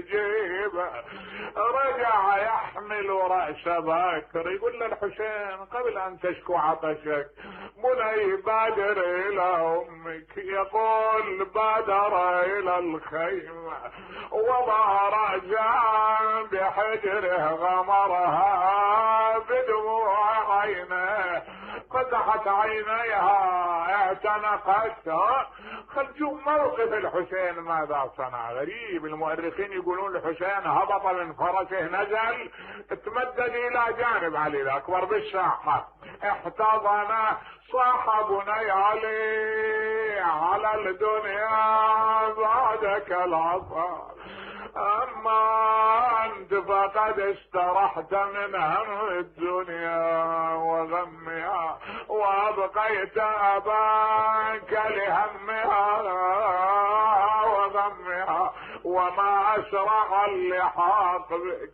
جيبه رجع يحمل رأس بكر يقول للحسين قبل ان تشكو عطشك بني بادر الى امك. يقول بادر الى الخيمة وضع رأسا بحجره غمرها بدموع عينه فتحت عينيها اعتنقتها. خل نشوف موقف الحسين ماذا صنع. غريب المؤرخين يقولون الحسين هبط من فرسه نزل تمدد الى جانب علي الاكبر بالساحة احتضن صاح بني علي على الدنيا بعدك العصا اما انت فقد استرحت من هم الدنيا وغمها وابقيت اباك لهمها وغمها وما اسرع اللحاق بك